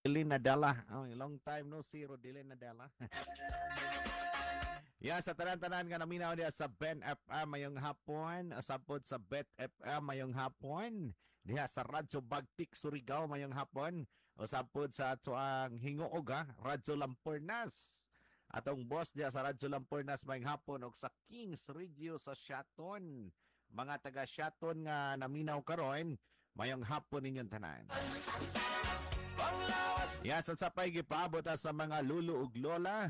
Rodelin Nadala. Oh, long time no see, Rodelin Nadala. Ya, sa tanan-tanan nga naminaw diha sa Ben FM mayong hapon, sapod sa Bet FM mayong hapon, diha sa Radyo Bagtik Surigao mayong hapon, o sapod sa ato ang Hingoog ha, Radyo Lampornas. Atong boss diha sa Radyo Lampornas mayong hapon og sa Kings Radio sa Siaton. Mga taga Siaton nga naminaw karon, mayong hapon ninyong tanan. Ya, sa sapay gipaabot ta sa mga lulo ug lola,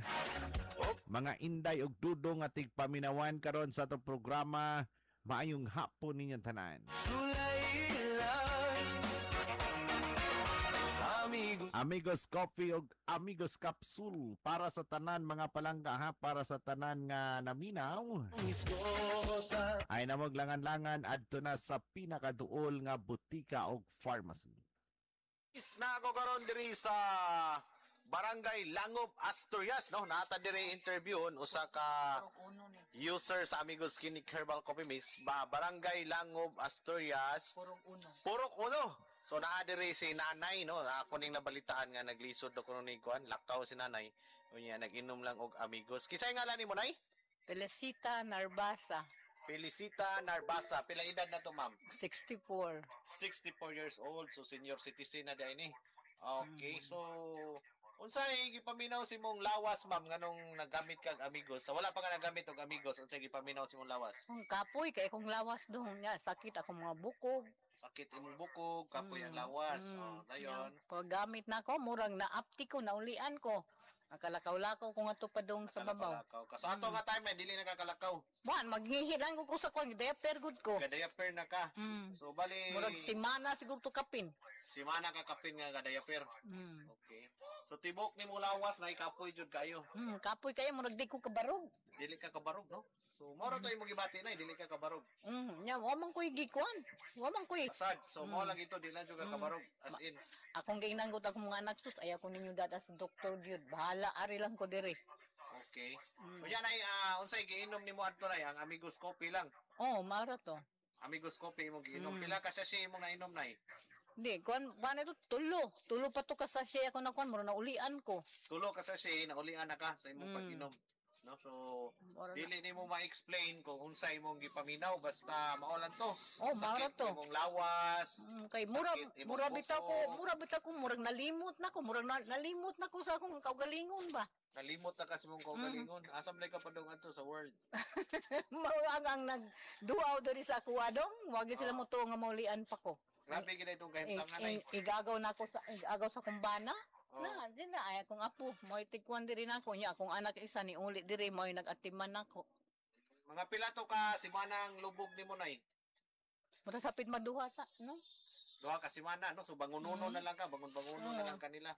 mga inday ug dudong nga tigpaminawan karon sa atong programa, maayong hapon ninyong tanan. Amigos. Amigos Coffee ug Amigos Capsule para sa tanan, mga palangga ha, para sa tanan nga naminaw. Iskota. Ay namog langan-langan adto na sa pinakaduol nga butika og pharmacy. Is na ako karon diri sa Barangay Langob, Asturias, no? Nata diri interview usa ka user sa Amigos Clinic Herbal Coffee Mix ba, Barangay Langob, Asturias. Purok Uno. Purok Uno. So naa diri si nanay, no? Ako ning nabalitaan nga naglisod do kuno ni kuan, lakaw si nanay. Unya nag-inom lang og Amigos. Kinsay ngalan nimo, nay? Felicita Narbasa. Felicita Narbasa. Pila edad na to, ma'am? 64. 64 years old, so senior citizen na diay ni. Okay, so unsay gipaminaw sa imong lawas, ma'am, nganong nagamit kag Amigos? So wala pa ka nagamit og Amigos, unsay gipaminaw sa imong lawas? Kung kapoy kay kong lawas doon niya, sakit akong mga bukog. Sakit imong bukog, kapoy ang lawas. Oh, dayon. Paggamit na ko, murag naapti ko, naulian ko. Nakalakaw-lakaw ko nga to pa dong sa babaw. Kalakaw ka. So ato nga time na dili nakakalakaw. Buwan, magngihit lang ko sa kwan, diaper good ko. Gadayaper na ka. So bali Murag simana siguro to kapin. Simana ka kapin nga gadayaper. Okay. So tibok nimo lawas na ikapoy jud kayo. Kapoy kayo, murag di ko kabarog. Dili ka kabarog, no? So mao ra to imong gibati na, dili ka kabarog. Nya, wa man ko'y gikuan. Wa man ko'y. Asad. So mao lang ito, dili lang jud ka kabarog as in. Akong giinanggot akong mga anak sus, ayaw ko ninyo dada sa doktor gyud. Bahala, ari lang ko diri. Okay. Unya nay, unsay giinom nimo adto, nay? Ang Amigos Coffee lang? Oh, mara to. Amigos Coffee imong giinom. Pila ka sachet imong nainom, nay? Hindi, kuan, kuan ito, tulo. Tulo pa to ka sachet ako na kuan, mura na ulian ko. Tulo ka sachet, naulian na ka sa imong pag-inom. No? So Mura na. Dili nimo ma-explain kung unsa imong gipaminaw, basta mao lang to. Oh, mao ra Sakit to. imong lawas. Kay mura, Sakit imong mura bitaw ko, buko. mura bitaw ko, murag nalimot na ko, murag nalimot na ko sa akong kaugalingon ba. Nalimot na ka sa imong kaugalingon. Asa man ka padung adto sa world? Mao ang ang nagduaw diri sa ako adong, wag sila mo tuo nga maulian pa ko. Grabe gid itong kahimtangan, nay. Igagaw na ako sa igagaw sa kumbana. Oh. Na, di na ay akong apo, mo'y tigkuan diri nako nya akong anak isa ni uli diri mo'y nag-atiman nako. Mga pila to ka simanang lubog nimo, nay? Murag hapit maduha ta, no? 2 ka semana, no? So bangununo na lang ka, bangun-banguno na lang kanila.